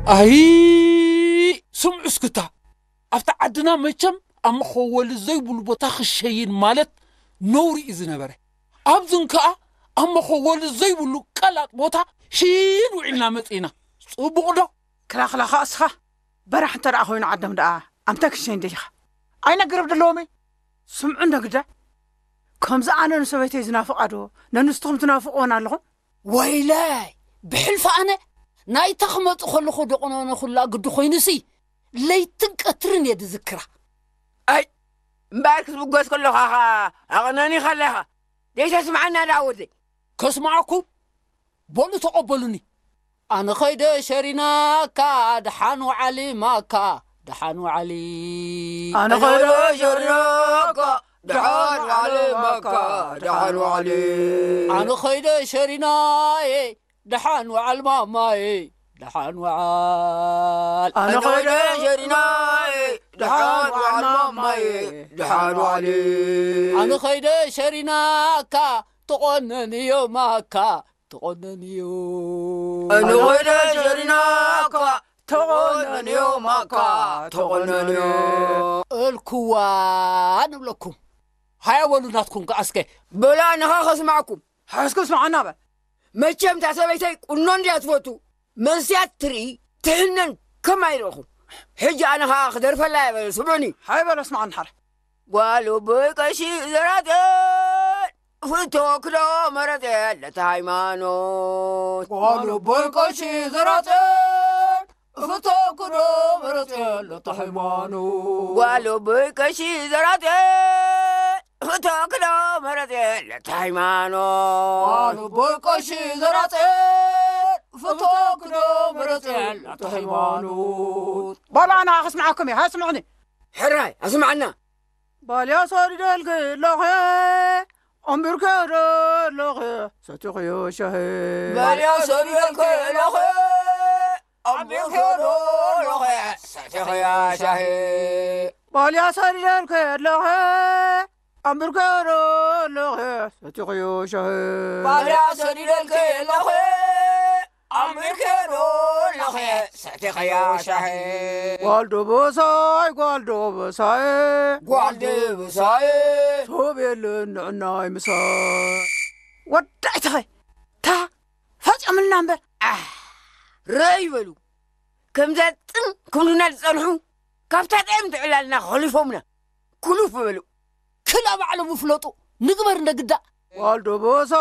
ኣይ፣ ስምዑ እስክታ። ኣብቲ ዓድና መቸም ኣብ መኸወሊ ዘይብሉ ቦታ ክሸይን ማለት ነውሪ እዩ ዝነበረ። ኣብዝን ከኣ ኣብ መኸወሊ ዘይብሉ ቀላጥ ቦታ ሽይን ውዒልና መጺእና። ጽቡቕ ዶ? ክላኽላኻ እስኻ በራሕ እንተ ደኣ ኮይኑ ዓዶም ደኣ ኣምታይ ክሸይን ደሊኻ? ኣይነግርብ ደለዎም እየ። ስምዑ እንዶ ግዳ። ከምዚ ኣነ ንሰበይተይ ዝናፍቓ ዶ ነንስትኹም ትናፍቕወን ኣለኹም? ወይለይ፣ ብሕልፊ ኣነ ናይታ ክመጽእ ከለኹ ደቑነነ ኩላ ግዲ ኮይኑሲ፣ ለይትን ቀትርን እየ ዝዝክራ። ኣይ፣ እምበኣር ክትብገስ ከለኻ ኸኣ ኣቕነኒ ከለኻ፣ ዘይተስምዓና ደኣ ወደይ። ከስምዓኩም? በሉ ተቐበሉኒ። ኣነ ኸይደ ሸሪናካ፣ ደሓን ወዓሊ ማካ፣ ደሓን ወዓሊ። ኣነ ኸይደ ሸሪናካ፣ ደሓን ወዓሊ ማካ፣ ደሓን ወዓሊ። ኣነ ኸይደ ሸሪናየ፣ ደሓን ወዓል ማማየ፣ ደሓን ወዓል። ኣነ ኸይደ ሸሪናየ፣ ደሓን ወዓል ማማየ፣ ደሓን ወዓሊ። ኣነ ኸይደ ሸሪናካ፣ ተቖነንዮ ማካ፣ ተቖነንዮ። ኣነ ኸይደ ሸሪናካ፣ ተቖነንዮ ማካ፣ ተቖነንዮ። እልክዋ ንብለኩም። ሃያ በሉ ናትኩም ከኣ እስከ። በላ ንኻ ከስማዕኩም። ሓስኩ ስምዓና በል። መቸም እታ ሰበይተይ ቁኖ እንድያ ትፈቱ። መንስያት ትርኢ ትሕነን ከም ኣይረኹም። ሕጂ ኣነ ኸኣ ክደርፈላ እየ በለ፣ ስምዑኒ። ሃይ በሎ ስምዓኒ ሓረ። ጓል ኣቦይ ቀሺ ዘራጥን ፍቶ ክዶ መረጽ የለ ሃይማኖት። ጓል ኣቦይ ቀሺ ዘራጥን ፍቶ ክዶ መረጽ የለ ሃይማኖት። ጓል ኣቦይ ቀሺ ዘራጥን ፍቶ ክዶ መረጽ የለ ሃይማኖት። ጓል ኣቦይ ቀሺ ዘራጥን ፍቶ ክዶ መረጽ የለ ሃይማኖት። ባላ ኣና ክስምዓኩም እየ፣ ሃ ስምዑኒ። ሕራይ ኣስምዓና። ባልያ ሰዲደልኪ ኣለኹ፣ ኣንቢርከ ዶ ኣለኹ፣ ሰቲኽዮ ሻሂ። ባልያ ሰዲደልኪ ኣለኹ፣ ኣንቢርከ ዶ ኣለኹ፣ ሰቲኽዮ ሻሂ። ባልያ ሰዲደልኪ ኣለኹ፣ ኣንቢርከ ዶ ኣለኹ፣ ሰቲኽዮ ሻሂ። ባልያ ሰዲደልኪ ኣለኹ፣ ኣንቢርከ ዶ ኣለኹ፣ ሰቲኽዮ ሻሂ። ጓል ደበሳይ፣ ጓል ደበሳይ፣ ጓል ደበሳይ። ሰብ የለን ንዕናይ ምሳይ። ወዳእተኸ፣ ታ ፈጸምልና እምበር። ኣህ፣ ረይ በሉ። ከምዛ ጽን ክብሉና ዝጸንሑ፣ ካብታ ጥዕም ትዕላልና ኸሊፎምና። ኩሉፍ በሉ። ክላ ባዕሎም ይፍለጡ። ንግበር እንደ ግዳ። ጓል ደበሳ